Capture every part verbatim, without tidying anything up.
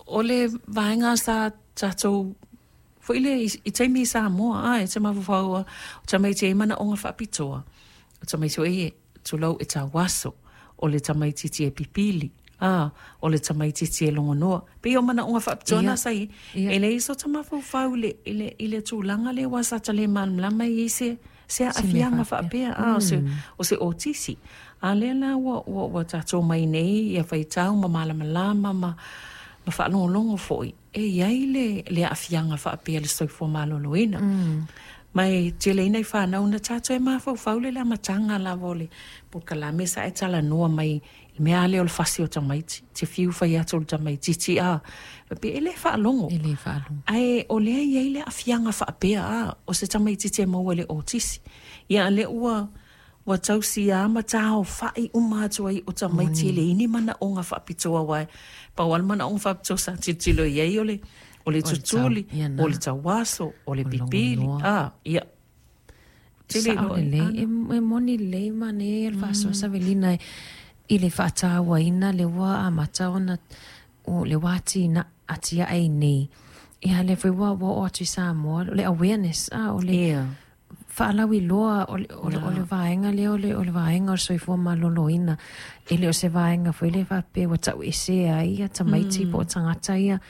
O le vaega sa tatou foi le i taimi i Samoa, a e te mafaufau o tamaiti e manaoga faapitoa, o tamaiti foi e tulou e tauaso, o le tamaitiiti e pipili, a o le tamaitiiti e logonoa. Pei o manaoga faapitoa na sa i e leai so ta mafaufau i le, i le, i le tulaga lea ua sa ta le malamalama i ai se se aafiaga faapea, a o se, o se otisi. A lea la ua, ua, ua tatou mai nei ia faitau ma malamalama ma, ma faalogologo foi e iai le, le aafiaga faapea le soifua maloloina. Mm. Ma e tele ina i fanau na tatou e mafaufau le le amataga lava o le polokalame sa e talanoa mai i mea lea o le fasi o tamaiti, te fiu fai atu o le tamaitiiti a pe e le faalogo. E le faalogo. Ae o lea i ai le aafiaga faapea, a o se tamaitiiti e maua i le otisi. Ia lea ua ua tausia ma taofa'i uma atu ai o tamaiti e leai ni manaoga faapitoa uae pau lava le manaoga faapitoa sa tilotilo i ai o le o le tutuli, o le tauaso, o le pipili, a ia tele Sa'o lelei, e, e moni lelei manaia ia le faasoa Savelina i le faatauaina le ua amata ona o le ua atina atiae nei. Ia lea foi ua ua oo atu i Samoa o le awareness, a o le yeah. faalauiloa o le, o le, o le vaega lea o le, o le vaega o le soifua maloloina. E le o se vaega foi le faapea ua tauesea ai ia tamaiti mm. po o tagata ia.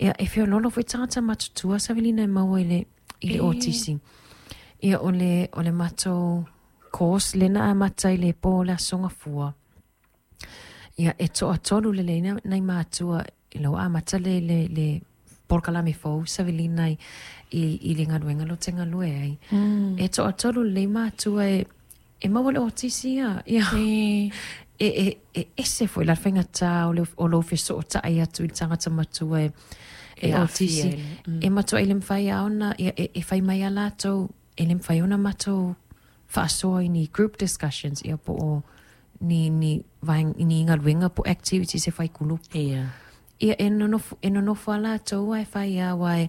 Ia, e feoloolo foi tagata matutua Savelina e maua i le, i le otisi. Ia, o le, o le matou course lena amata i le po o le Aso Gafua. Ia, e toatolu lelei nai matua i lau amata le, le, le polokalame fou Savelina i, i, i le galuega lo te galue ai. Mm. E toatolu lelei matua e, e maua le otisi ia. Ia. E. E, e, e ese foi la le faigata o le, o lou fesootai atu i le tagata matua e, e otisi. Mm. E matua i le mawhai a ona, ia, e, e whai mai a latou, e le mawhai ona matou faasoa i ni group discussions, ia po o ni, ni, vaeng, ni galuega po activities e fai kulupu. Yeah. Ia e nonofo, e nonofo a latou e fai a wai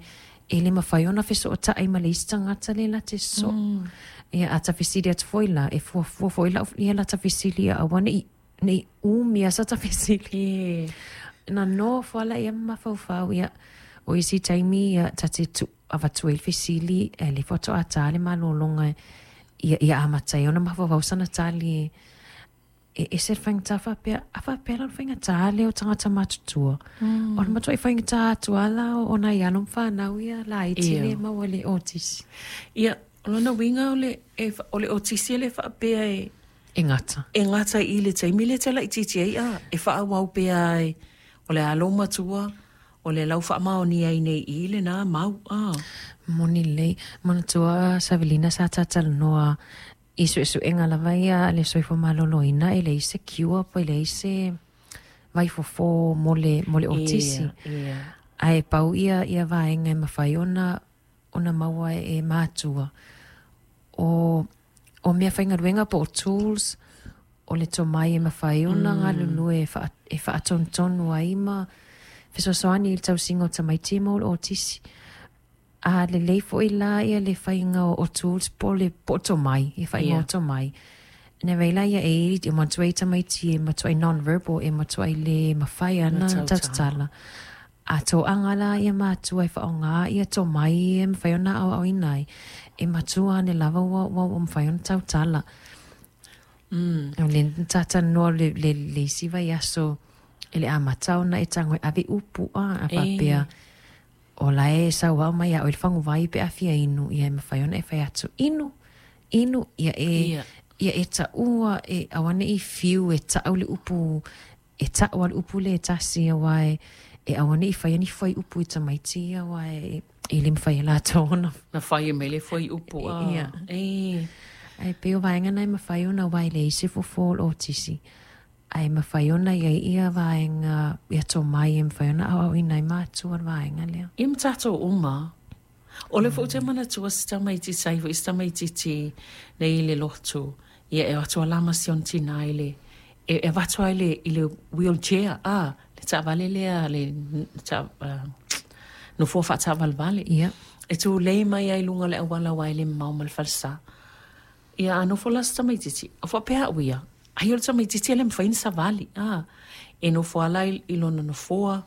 e le mawhai ona fesootai ma le isi tagata le la te so. Mm. Ia a ta fesili atu foi la, e fuafua foi la, ia la ta fesili ia aua nei, nei umi a sa ta fesili. Yeah. Na nofo ala ia mafaufau ia o isi taimi ia ta te tu avatu ai le fesili e le faatoa ta le malologa ia ia amata ai ona mafaufau sana tali e ese le faigata faapea a faapea la o le faigata lea o tagata matutua. Mm. O le matuai faigata atu ala o nai alo ma fanau ia laiti Ia. le maua le otisi. Ia, o lona uiga o le, e, o le otisi e le faapea e, E gata. e gata i le taimi le te laitiiti ai a, e faaauau pea ai, o le alo matua, o le lau faamaonia ai nei i lena mau, a. Moni lelei, manatua Savelina sa tatalanoa i suesuega lava ia le soifua maloloina e leai se cure po e leai se vaifofo mo le, mo le otisi. Ia, ia. Ae pau ia ia vaega e mafai ona ona maua e matua. O, o mea faigaluega po o tools, o le tomai e mafai ona mm. galulue e, wha, e whaatonutonu ai ma fesoasoani i le tausiga o tamaiti ma o le otisi. A lelei foi la ia le faiga o, o tools po le po o tomai, ia faiga Ia. o tomai. Na vei la ia e e matuai tamaiti e matuai non-verbal e matuai le mafai ana Na tautala. tautala. A toaga la ia matua e faaaogā ia tomai e mafai ona aoaoina ai. E matua ane lava ua, ua, ua mafai ona tautala. Mm. O le tatalanoa le, le, le isi vaiaso e le amata ona e tago e ave upu a, a faapea o la e sauao mai ia oe le faguvai pe a fia inu ia e mafai ona e fai atu inu inu ia e Ia. ia e taua e auane'i fiu e ta'u le upu e ta'u a le upu le e tasi auā e e auane'i faia ni fuaiupu i tamaiti ia auā e e le mafai e latou ona Na fai e mai le fuaiupu a. Ia. E. Ae pei o vaega na e mafai ona uae leai se fofo o le otisi. Ae mafai ona iai ia vaega ia tomai e mafai ona aoaoina ai matua le vaega lea. Ia ma tatou uma. O le foi ou te manatua se tamaitiiti sai foi se tamaitiiti nei i le lotu. Ia e o atu ala ma si ona tinā i le e, e avatu ai le i le wheelchair a le taavale lea le ta, uh, nofoa faataavalevale. Ia. E tulei mai ai i luga o le auala uae le mamao ma le falesa. Ia a nofo la se tamaitiiti, o faapea au ia, ai o le tamaitiiti e le mafai ona savali, a. E nofo ala i, i lona nofoa,